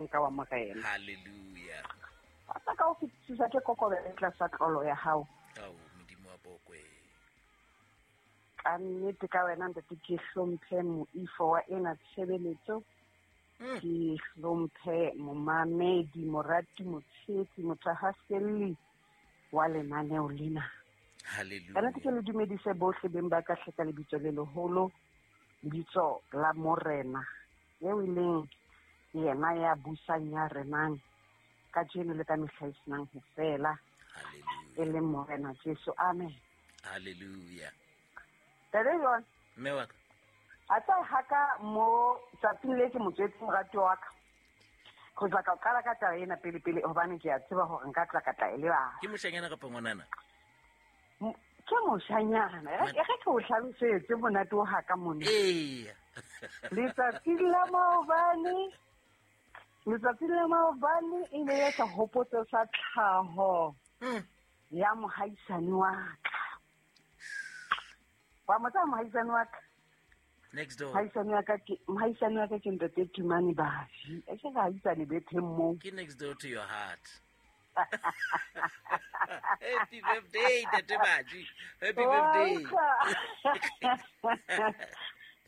Nka wa Morena. Hallelujah. Rata ka ho fetisisa ke kokobele tlasa tlolo ya hao. Ao, Modimo wa bokwe. Ka nnete ka wena ntate ke hlomphe moifo wa ena tshebeletso. Ke hlomphe momamedi, morati, motshehetsi, mothahaselli wa lenaneo lena. Hallelujah. Ka nnete ke le dumedise bohle beng ba ka hle ka lebitso le leholo, lebitso la Morena, eo e leng yena ya busang ya renang kajeno le ka mehla e senang ho fela, Hallelujah. e leng Morena Jesu. Amen. Hallelujah. Tate John, Mme wa ka. a tsa haka mo tsatsing le ke motswetse morati wa ka. Go tla ka qala ka taba ena pele pele hobane ke a tseba hore nka tla ka tla e lebala. Ke moshanyana kapa ngwanana? Ke moshanyana. E re ke o hlalosetse monate o haka mona. Eya. Letsatsi la maobane, letsatsi la maobane e ne e sehopotso sa tlhaho ya mohaisane wa ka. Wa mo tseba mohaisane wa ka? Next door. Mohaisane wa ka ke, mohaisane wa ka ke ntate Tumane Baji. E ke re haisane betheng moo. Ke next door to your heart. Happy birthday, Ntate Baji. Happy birthday.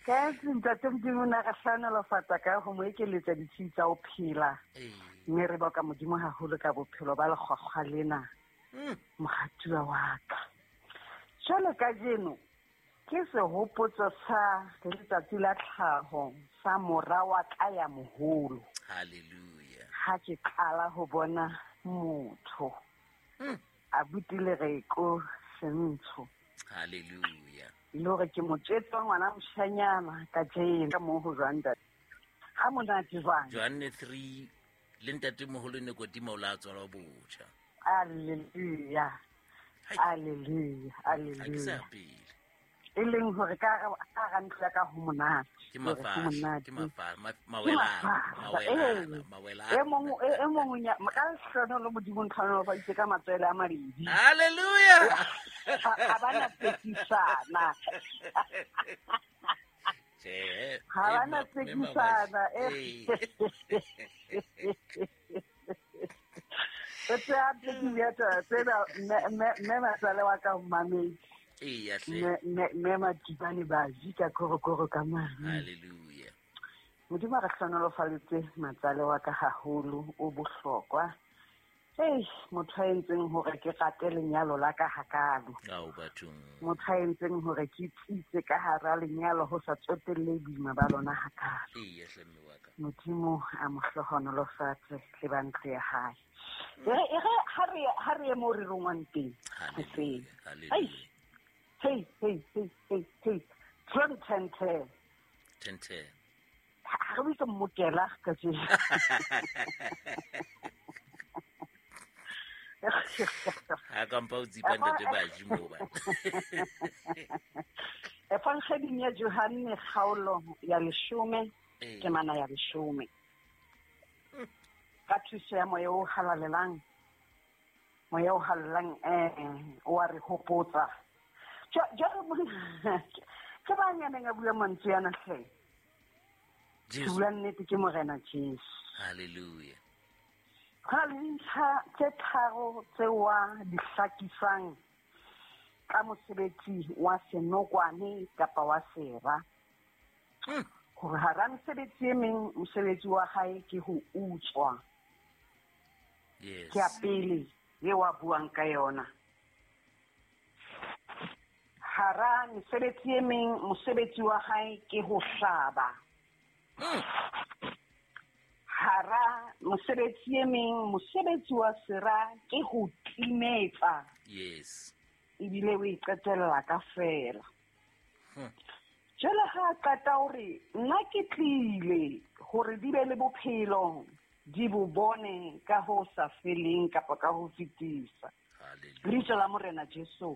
Ka ntate Modimo na re hlohonolofatsa ka ho mo ekeletsa ditshiu tsa ho phela. Mme re boka Modimo haholo ka bophelo ba lekgwakgwa lena. Moratuwa wa ka. Jwale kajeno ke sehopotso sa letsatsi la tlhaho sa mora wa ka ya moholo. Hallelujah. Ha ke qala ho bona motho. Abuti Lereko Sentsho. Hallelujah. Le hore ke motswetse wa ngwana moshanyana kajeno ka moo ho jwang ntate. Ha monate jwang? Johanne 3 le ntate moholo Nikodimo o la tswalwa botjha. Hallelujah. Hai. Hallelujah. Ha ke sa Hallelujah. pele. E leng hore ka hara ntlo ya ka ho monate. Ke Hore ho mafahla, monate. ke mafahla, Ke mawelana, mafahla, mawelana, ee. mawelana. E mong o nya-, ka lehlohonolo Modimo ntlhohonolofaditse ka matswele a mabedi. Hallelujah. Ha ba na tsekisana. Tjhe, Ha ba na mme tsekisana, Mabaji. eh. Ee. O tse a tle ke bua taba tsena, mme matsale wa ka o mametse. Eya, hle. Mme Matibane Baji ka korokoro ka mane. Hallelujah. Modimo a re hlohonolofaletse matsale wa ka haholo, o bohlokwa. Ei, motho a entseng hore ke rate lenyalo la ka hakalo. Ao, bathong. Motho a entseng hore ke tsitse ka hara lenyalo ho sa tsotelle boima ba lona hakalo. Eya, hle mme wa ka. Modimo a mo hlohonolofatse le ba ntlo ya hae. E re, e re, ha re, ha re ye moo re rongwang teng, hoseng. Hallelujah, Ei. hallelujah. Hey, hey, hey, hey, hey. John 10 10. 10 10. Ha re bitse mmokela ka jeno. Ha ka mpa o tsipa ntate Baji moo ba. Evangeling ya Johanne kgaolo ya 10, Ee. temana ya 10. Ka thuso ya moya o halalelang, moya o halalelang, o a re hopotsa. Jwale ke ba nyaneng a bua mantswe ana hle. Ke Jesu. bua nnete ke Morena Jesu. Hallelujah. Ho na le dintlha tse tharo tseo a di hlakisang ka mosebetsi wa senokwane kapa wa sera. Hore hara mesebetsi e meng, mosebetsi wa hae ke ho utswa. Yes. Ke ya pele eo a buang ka yona. Hara mesebetsi e meng, mosebetsi wa hae ke ho hlaba. Hara mosebetsi e meng, mosebetsi wa sera ke ho timetsa. Yes. Ebile o e qetella ka feela. Jwale ha a qeta hore nna ke tlile hore di be le bophelo, di bo bone ka ho sa feleng kapa ka ho fetisa. Hallelujah. Lebitso la Morena Jesu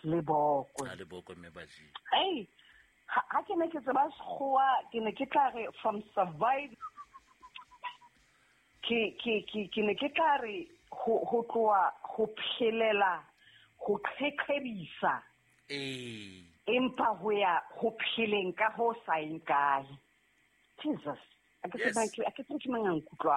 le bokwe. Ha le bokwe, mme Baji. Ei, ha ke ne ke tseba Sekgowa, ke ne ke tla re from survive, ke ne ke tla re ho tloha ho phelela, ho qheqhebisa. Ee. Empa ho ya ho pheleng ka ho sa eng kae. Jesus, a ke Yes. tsebe ke, a ke tsebe ke mang a nkutlwang.